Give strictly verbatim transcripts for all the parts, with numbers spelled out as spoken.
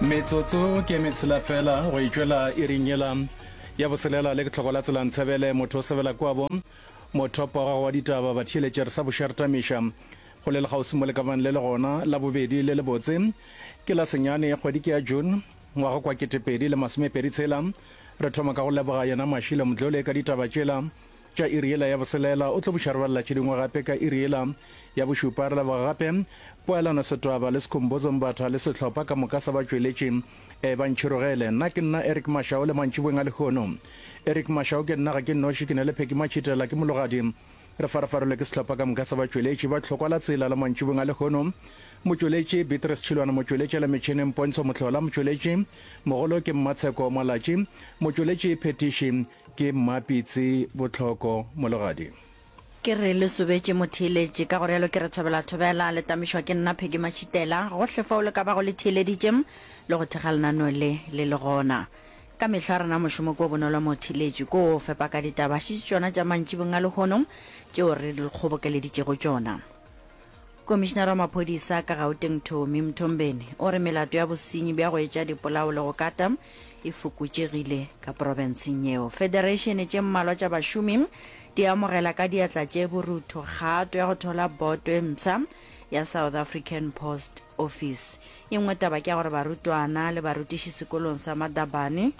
Metsotso ke metshela fela go itšwela iring yela ya boselela le ke tlhoko la tsela ntshebele motho o sebela kwabo mothopo wa gago wa ditaba batheeletše re sa bošartamiša go le lekgauswi mo le ka bang le le gona la bobedi le lebotse ke la senyane kgwedi ke ya June ngwaga kwa ketepedi le masomepedi tshela re thoma ka go leboga yena Mašile Mdlole ka ditaba tšela tša iri yela ya boselela o tlo buša re balela tše dingwe gape ka iri yela ya bošupa re leboga gape Poelano Setwaba le Sekhumbuzo Mbatha le sehlopha ka moka sa batšweletši e ba ntšhirogele nna ke nna Eric Mashao le mantšiboeng a lehono Eric Mashao ke nna ga ke noši ke ne le Pheki Matšhitela ke mologadi re farafarelwe ke sehlopha ka moka sa batšweletši ba tlhokwa la tsela la mantšiboeng a lehono motšweletši Beatrice Tšhilwane motšweletši la metšhineng Pontsho Mohlola motšweletši mogolo ke Mmatsheko Malatši motšweletši phetiši ke Mmapitsi Botlhoko mologadi Ke re le sobetše motheeletši, ka go realo ke re thobela thobela, le tamišwa ke nna Peggy Matšhitela, gohle fao le ka bago le theeleditše le go thekga lenaneo le le le gona. Ka mehla rena mošomo ke o bonolo motheeletši, ke o fepa ka ditaba, šetše tšona tša mantšibong a lehono tšeo re le kgobokeleditšego tšona. Komišinara wa maphodisa ka Gauteng Tommy Mthombeni o re melato ya bosenyi bja go etša dipolao le go kata e fokotšegile ka profenseng yeo. Federeišene tše mmalwa tša bašomi di amogela ka diatla tše borutho kgato ya go thola boto e mpsha ya South African Post Office. E nngwe taba ke ya gore barutwana le barutiši sekolong sa Madabane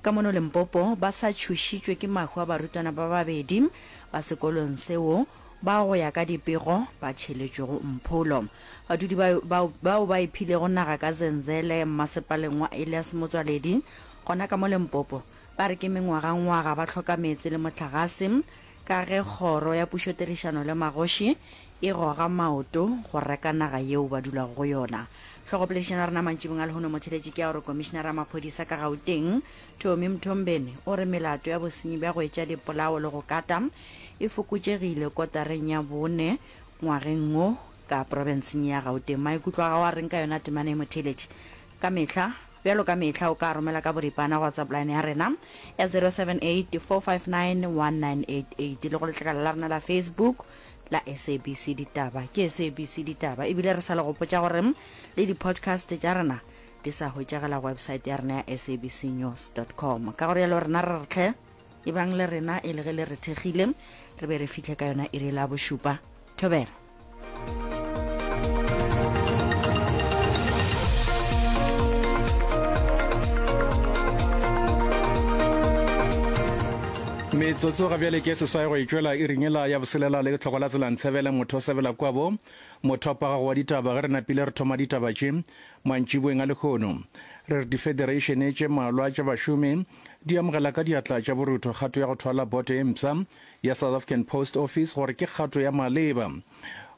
ka mono Limpopo ba sa tšhošitšwe ke mahu a barutwana ba babedi ba sekolong seo bao go ya ka dipego ba tšheletšwego mpholo. Badudi ba bao ba iphilego naga ka Zenzele mmasepaleng wa Elias Motsoaledi gona ka mo Limpopo ba re ke mengwagangwaga ba hloka meetse le mohlagase ka ge kgoro ya pušotirišano le magoši e goga maoto go reka naga yeo ba dulago go yona. Hlogopoledišano ya rena mantšibong a lehono motheletši ke ya gore komišinara ya maphodisa ka Gauteng Tommy Mthombeni o re melato ya bosenyi bja go etša dipolao le go kata e fokotšegile kotareng ya bone ngwageng wo ka profenseng ya Gauteng. Maikutlo a gago a reng ka yona temana e motheletši? Ka mehla bjalo ka mehla o ka romela ka boripana go WhatsApp line ya rena ya zero seven eight four five nine one nine eight eight le go letlakala la rena la Facebook la S A B C Ditaba. Ke S A B C Ditaba. Ebile re sa le gopotša gore le di-podcast tša rena di sa hwetšagala go website ya rena ya S A B C news dot com. Ka go rialo rena re re tlhe ebang le rena e le ge le re thekgile re be re fihle ka yona iri la bošupa. Thobela. Metsotso ga bjale ke seswai go itšwela iring yela ya boselela le lehlokwa la tsela ntshebele motho o sebela kwabo mothopo wa gago wa ditaba ge re napile re thoma ditaba tše mantšiboeng a lehono re re difedereišene tše mmalwa tša bašomi di amogela ka diatla tša borutho kgato ya go thwala boto e mpsha ya South African Post Office gore ke kgato ya maleba.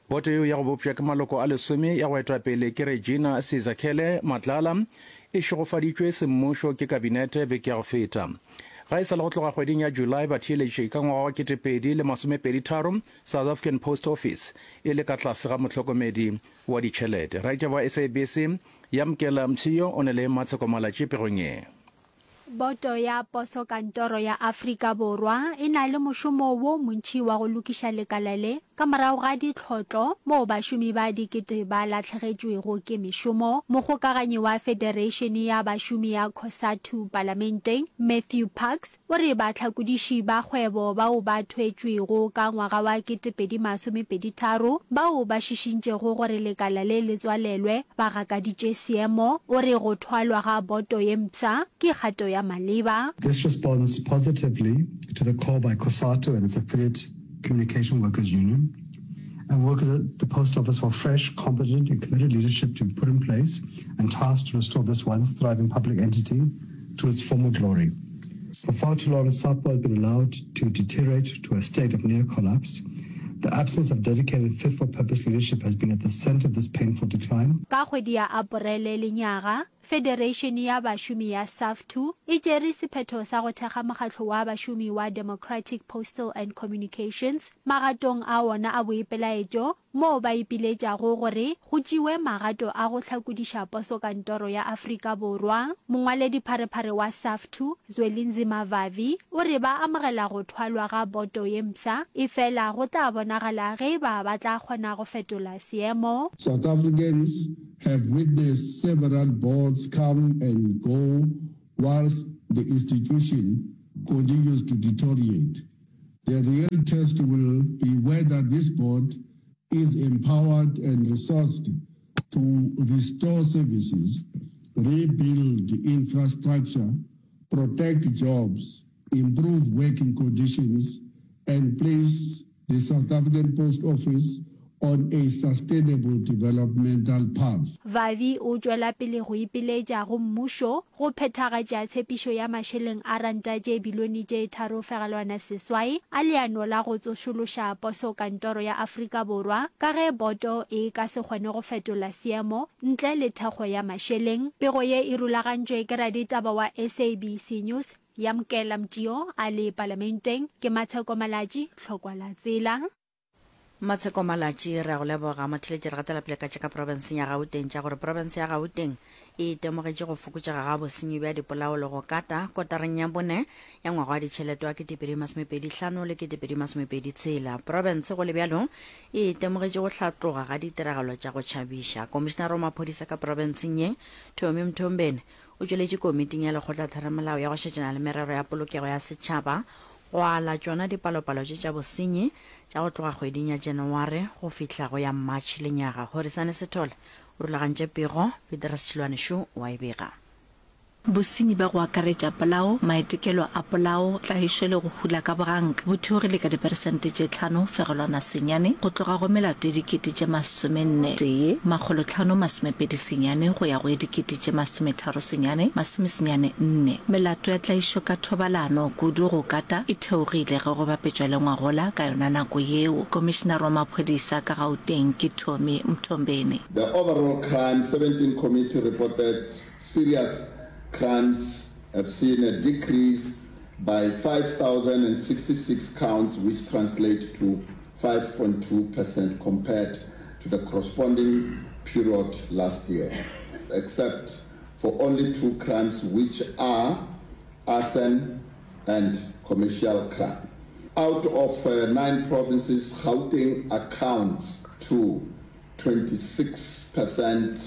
Boto yeo ya go bopša ke maloko a lesome ya go etwa pele ke Regina Sizakhele Matlala e šegofaditšwe semmušo ke kabinete beke ya go feta. Ga e sa le go tloga kgweding ya July batheeletši ka ngwaga wa ketepedi le masomepedi tharo South African Post Office e le ka tlase ga mohlokomedi wa ditšhelete. Raitaba wa S A B C Yamkela Mtshiyo o ne le Matsheko Malatši pegong ye. Boto ya Posokantoro ya Afrika Borwa e na le mošomo wo montši wa go lokiša lekala le ka morago ga ditlhotlo moo bašomi ba dikete ba lahlegetšwego ke mešomo. Mokgokaganyi wa Federeišene ya Bašomi ya Cosatu Palamenteng, Matthew Parks, o re bahlakodiši ba kgwebo bao ba thwetšwego ka ngwaga wa ketepedi masomepedi tharo bao ba šišintšego gore lekala le le tswalelwe ba gakaditše seemo. O re go thwalwa ga boto ye mpsha ke kgato ya maleba. This responds positively to the call by COSATU and its affiliate Communication Workers Union and workers at the Post Office for fresh, competent and committed leadership to be put in place and tasked to restore this once thriving public entity to its former glory. For far too long, SAPO has been allowed to deteriorate to a state of near collapse. The absence of dedicated fit-for-purpose leadership has been at the center of this painful decline. Ka kgwedi ya Aporele lenyaga, Federeišene ya Bašomi ya SAFTU e tšere sephetho sa go thekga mokgatlo wa bašomi wa Democratic Postal and Communications magatong a wona a boipelaetšo moo ba ipiletšago gore go tšewe magato a go hlakodiša posokantoro ya Afrika Borwa. Mongwaledipharephare wa SAFTU, Zwelinzima Vavi, o re ba amogela go thwalwa ga boto ye mpsha, efela go tla bonagala ge e ba ba tla kgona go fetola seemo. South Africans have witnessed several boards Boards come and go whilst the institution continues to deteriorate. The real test will be whether this board is empowered and resourced to restore services, rebuild infrastructure, protect jobs, improve working conditions, and place the South African Post Office on a sustainable developmental path. Vavi o tšwela pele go ipiletša go mmušo go phethagatša tshepišo ya mašeleng a ranta tše bilione tše tharo fegelwana seswai a leano la go tsošološa Poso Kantoro ya Afrika Borwa ka ge boto e ka se kgone go fetola seemo ntle le thekgo ya mašeleng. Pego ye e rulagantšwe ke raditaba wa S A B C News, Yamkela Mtio a le Palamenteng. Ke Matsheko Malatji, Tlhokwa la Tsela. Matsheko Malatji, Re a go leboga. Motheeletši, re gatela pele ka tša ka profenseng ya Gauteng tša gore profense ya Gauteng e itemogetše go fokotšega ga bosenyi bja dipolao le go kata kotareng ya bone ya ngwaga wa ditšhelete wa ketepedi masomepedi hlano le ketepedi masomepedi tshela. Profense go le bjalo e itemogetše go hlatloga ga ditiragalo tša go tšhabiša. Komišinara wa maphodisa ka profenseng ye, Tommy Mthombeni, o tšweletše komiting ya lekgotlatheramelao ya go šetšana le merero ya polokego ya setšhaba go ala tšona dipalopalo tše tša bosenyi tša go tloga kgweding ya Janaware go fihla go ya March lenyaga. Horisane Sithole o rulagantše pego, Petrus Tšhilwane šo o a e bega. Bosenyi bja go akaretša polao, maitekelo a polao, tlaišo le go hula ka boganka bo theogile ka diperesente tše tlhano fegelwana senyane go tloga go melato ye dikete tše masomenne tee makgolo tlhano masomepedi senyane go ya go ye dikete tše masometharo senyane masomesenyane nne. Melato ya tlaišo ka thobalano, kudu go kata, e theogile ge go bapetšwa le ngwagola ka yona nako yeo. Komišinare wa maphodisa ka Gauteng ke Tommy Mthombeni. The overall crime seventeen committee reported serious crimes have seen a decrease by five thousand and sixty-six counts, which translate to five point two percent compared to the corresponding period last year, except for only two crimes, which are arson and commercial crime. Out of, uh, nine provinces, Gauteng accounts to twenty-six percent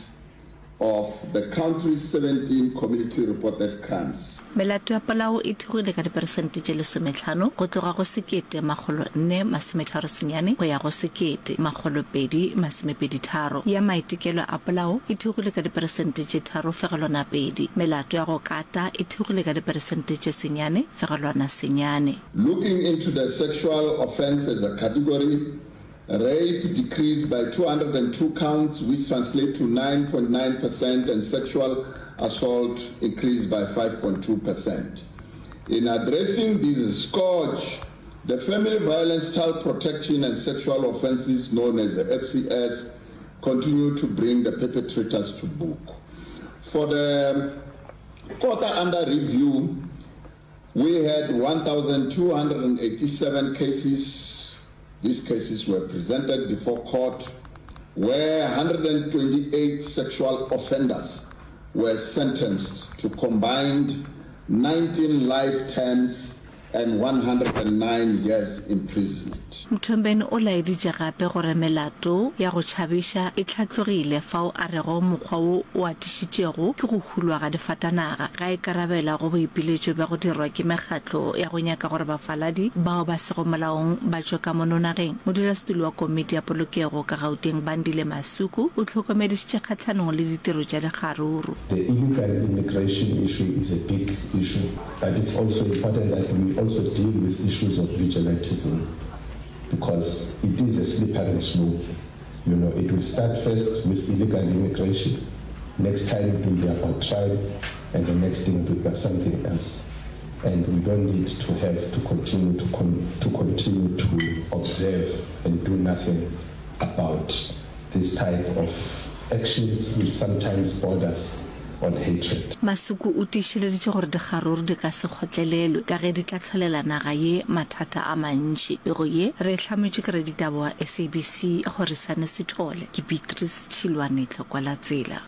of the country's seventeen community-reported crimes. Melato ya polao e theogile ka diperesente tše lesomehlano go tloga go sekete makgolo nne masometharo senyane go ya go sekete makgolo pedi masomepedi tharo. Ya maitekelo a polao e theogile ka diperesente tše tharo fegelwana pedi. Melato ya go kata e theogile ka diperesente tše senyane fegelwana senyane. Looking into the sexual offence as a category, rape decreased by two hundred and two counts, which translate to nine point nine percent, and sexual assault increased by five point two percent. In addressing this scourge, the Family Violence, Child Protection and Sexual Offences, known as the F C S, continue to bring the perpetrators to book. For the quarter under review, we had one thousand two hundred and eighty-seven cases. These cases were presented before court, where hundred and twenty-eight sexual offenders were sentenced to combined nineteen life terms and one hundred and nine years imprisonment. Mthombeni o laeditše gape gore melato ya go tšhabiša e hlatlogile fao a rego mokgwa wo o atišitšego ke go hulwa ga difatanaga ga e karabela go boipiletšo bja go dirwa ke mekgatlo ya go nyaka gore bafaladi bao ba sego molaong ba tšwe ka mono nageng. Modulasetulo wa komiti ya polokego ka Gauteng Bandile Masuku o hlokomedišitše kgahlanong le ditiro tša dikgaruru. The illegal immigration issue is a big issue, but it's also important that we also deal with issues of vigilantism, because it is a slippery slope. You know, it will start first with illegal immigration, next time it will be about tribe, and the next thing it will be something else. And we don't need to have to continue to, con-, to continue to observe and do nothing about this type of actions which sometimes borders on hatred. Masuku o tiišeleditše gore dikgaruru di ka se kgotlelelwe ka ge di tla hlolela naga ye mathata a mantši. Pego ye re e hlametšwe ke raditaba wa S A B C Horisane Sithole. Ke Beatrice Tšhilwane, Tlokwa la Tsela.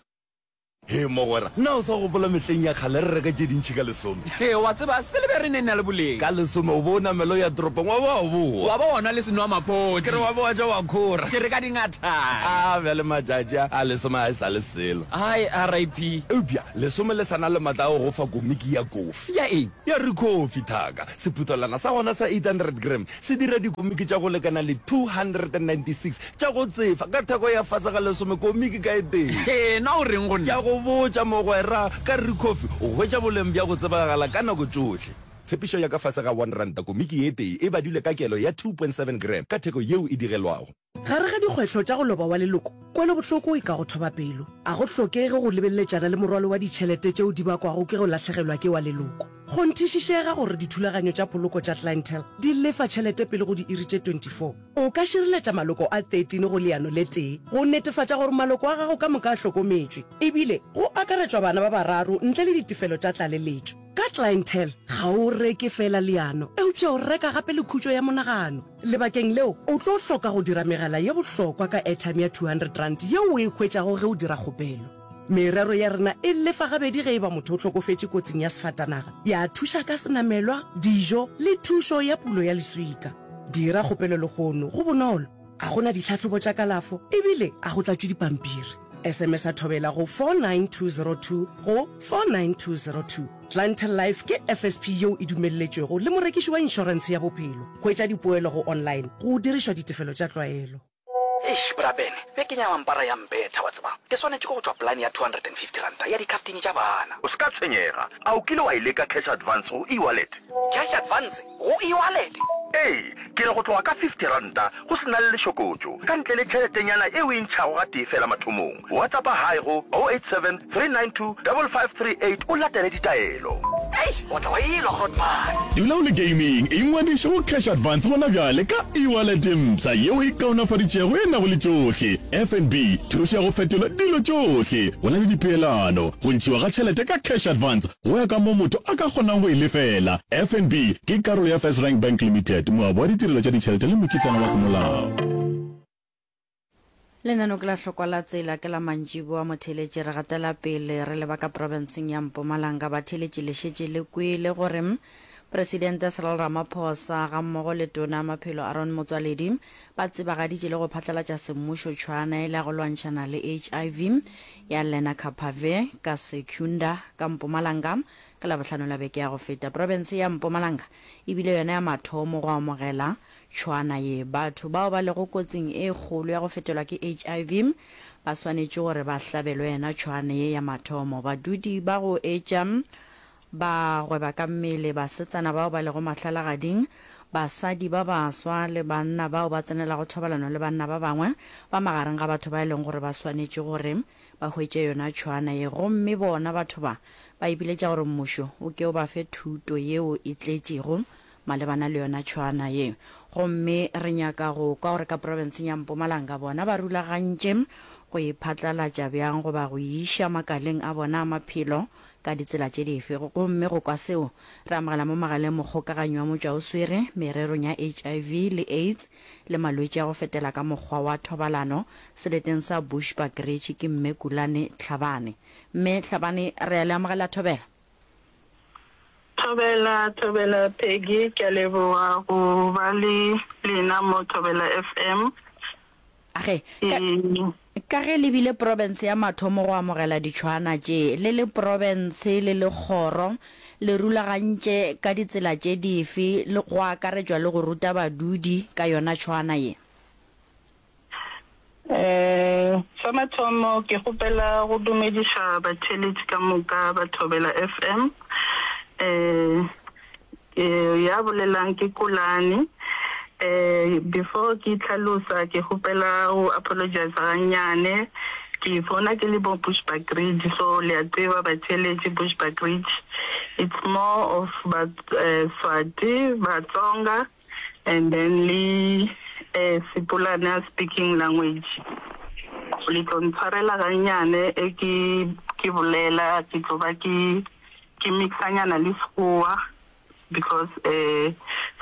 Hee mogwera, na o sa gopola mehleng ya kgale re reka tše dintši ka lesome? Hee, wa tseba, silibere e ne e na le boleng. Ka lesome o be o namela o ya toropong wa ba wa boa. Wa ba wa nwa le senwamaphodi. Ke re wa ba wa ja wa khora. Ke re ka dingathane. A bjale matšatši a, a lesome ga e sa le selo. Hai, R I P Eupša lesome le sa na le matla a go go fa komiki ya kofi. Ya eng? Ya Ricoffy, thaka. Sephuthelwana sa gona sa eight hundred gram se dira dikomiki tša go lekana le two hundred and ninety-six tša go tsefa ka theko ya fase ga lesome komiki ka e tee. Hee, na o reng go Ke nna? a go botša mogwera, ka Ricoffy o hwetša boleng bja go tsebagala ka nako tšohle. Tshepišo ya ka fase ga one ranta komiki ye tee e badilwe ka kelo ya two point seven gram ka theko yeo e digelwago. Gare ga dikgwetlho tša go loba wa leloko, kwelobohloko e ka go thoba pelo. A go hlokege go lebeleletšana le morwalo wa ditšhelete tšeo di bakwago ke go lahlegelwa ke wa leloko. Kgonthišišega gore dithulaganyo tša poloko tša Clientele di lefa tšhelete pele go diiri tše twenty-four. O ka šireletša maloko a thirteen go leano le tee go netefatša gore maloko a gago ka moka a hlokometšwe, ebile go akaretšwa bana ba bararo ntle le ditefelo tša tlaleletšo. Ka Clientele, ga o reke feela leano, eupša o reka gape le khutšo ya monagano. Lebakeng leo, o tlo hloka go dira megala ye bohlokwa ka airtime ya two hundred rand yeo o e hwetšago ge o dira kgopelo. Merero ya rena e lefa gabedi ge e ba motho o hlokofetše kotsing ya sefatanaga, ya thuša ka senamelwa, dijo le thušo ya pulo ya leswika. Dira kgopelo lehono, go bonolo, ga go na ditlhahlobo tša kalafo ebile a go tlatšwe dipampiri. S M S a Thobela go four nine two zero two go four nine two zero two. Clientele Life ke F S P yeo e dumelletšwego le morekiši wa inšorentshe ya bophelo. Hwetša dipoelo go online go dirišwa ditefelo tša tlwaelo. Eish, bra Ben, bekeng ya mampara ya mpetha, wa tseba. Ke swanetše ke go tšwa polane ya two hundred and fifty ranta ya dikhaftine tša bana. O se ka tshwenyega, a o kile wa e leka cash advance go e-wallet? Cash advance go e-wallet? Ee, ke re go tloga ka fifty ranta go se na le lešokotšo, ka ntle le tšheletenyana e o e ntšhago ga tee fela mathomong. WhatsAppa hi go oh eight seven, three nine two, five five three eight o latele ditaelo. Ei, o tla wa elwa, grootman. Dula o le gaming, ingwadiše go cash advance gona bjale ka e-wallet e mpsha yeo e kaonafaditšego e nago le tšohle. F N B, thušo ya go fetola dilo tšohle. Go na le dipeelano, go ntšhiwa ga tšhelete ka cash advance go ya ka mo motho a ka kgonang go e lefela. F N B ke karolo ya First Rank Bank Limited, moabi wa ditirelo tša ditšhelete le mokitlana wa semolao. Lenaneo ke la hlokwa la tsela ke la mantšiboa motheeletši, re gatela pele re leba ka profenseng ya Mpumalanga. Batheeletši, le šetše le kwele gore Presidente Cyril Ramaphosa gammogo le Tona ya Maphelo Aaron Motsoaledi ba tsebagaditše le go phatlalatša semmušo tšhwana e le ya go lwantšhana le H I V ya Lenacapavir ka Secunda ka Mpumalanga ka Labohlano la beke ya go feta. Profense ya Mpumalanga e bile yona ya mathomo go amogela tšhwana ye. Batho bao ba lego kotsing e kgolo ya go fetelwa ke H I V ba swanetše gore ba hlabelwe yona tšhwana ye ya mathomo. Badudi ba go etša ba gweba ka mmele, basetsana bao ba lego mahlalagading, basadi ba baswa le banna bao ba tsenelago thobalano le banna ba bangwe ba magareng ga batho ba e leng gore ba swanetše gore ba hwetše yona tšhwana ye. Gomme bona batho ba ba ipiletša gore mmušo o ke o ba fe thuto yeo e tletšego malebana le yona tšhwana ye. Gomme re nyaka go kwa gore ka profenseng ya Mpumalanga bona ba rulagantše go e phatlalatša bjang goba go e iša makaleng a bona a maphelo ka ditsela tše dife. Gomme go kwa seo, re amogela mo magaleng mokgokaganyi wa motšwaoswere mererong ya H I V le AIDS le malwetši a go fetela ka mokgwa wa thobalano seleteng sa Bushbuckridge, ke Mme Kulane Tlhabane. Mme Tlhabane, re a le amogela, thobela. Thobela, thobela Peggy, ke a leboga go ba le lena mo Thobela F M. Age, ka, ka ge le bile profense ya mathomo go amogela ditšhwana tše, le le profense le le kgoro, le rulagantše ka ditsela tše dife le go akaretšwa le go ruta badudi ka yona tšhwana ye? Eh, sa mathomo ke kgopela go dumediša batheeletši ka moka ba Thobela F M. Eh, ke ya bolelang ke Kulani. Eh, before ke tlhalosa ke kgopela go apologize gannyane. Ke fona ke le bo Bushbuckridge, so le a tseba batheeletši, Bushbuckridge it's more of ba eh, Swati, Batsonga and then le eh, Sepulana speaking language. Le tlo ntshwarela gannyane e ke ke bolela ke tlo ba ke ke mixanyana le Sekgowa because uh,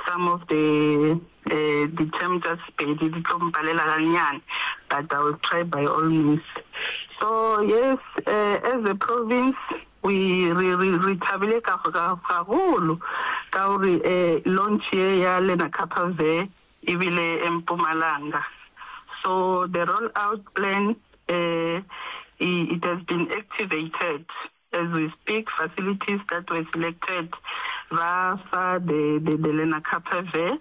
some of the uh, the terms tsa Sepedi di tlo mpalela gannyane, but I will try by all means. So yes, uh, as a province we re re re thabile ka ka gagolo ka gore eh, launch ye ya Lenacapavir e bile Mpumalanga. So the roll out plan eh, it has been activated as we speak, facilities that were selected ba fa the the, the Lenacapavir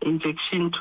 injection to